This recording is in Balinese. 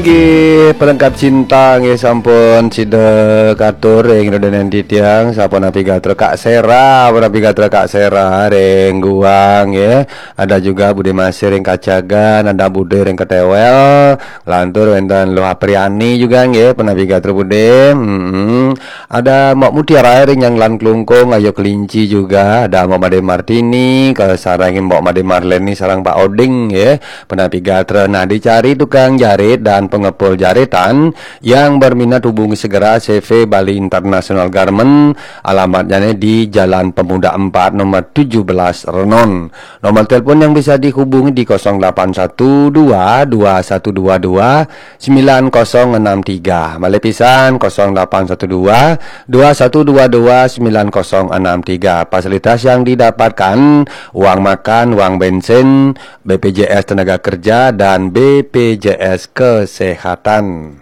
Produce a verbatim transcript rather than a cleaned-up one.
Nggih, pelengkap cinta nggih sampun sida katur ring ida dané titiang, sapunapi gatra Kak Sera, punapi gatra Kak Sera ring Guang nggih. Ada juga Bude Masih ring Kacagan, ada Bude ring Ketewel, lantur wénten Luh Apriani juga nggih, punapi gatra Bude. Hmm. Ada Mbok Mutiara ring Nyanglan Klungkung, Ayu Kelinci juga, ada Mbok Made Martini, kasarengin Mbok Made Marleni sareng Pak Oding nggih. Punapi gatra, nah, dicari tukang jarit dan pengepul jaritan yang berminat hubungi segera C V Bali International Garment, alamatnya nih di Jalan Pemuda empat nomor tujuh belas Renon. Nomor telepon yang bisa dihubungi di kosong delapan satu dua dua satu dua dua sembilan kosong enam tiga. Malih pisan, kosong delapan satu dua dua satu dua dua sembilan kosong enam tiga. Fasilitas yang didapatkan, uang makan, uang bensin, B P J S tenaga kerja, dan B P J S kesehatan.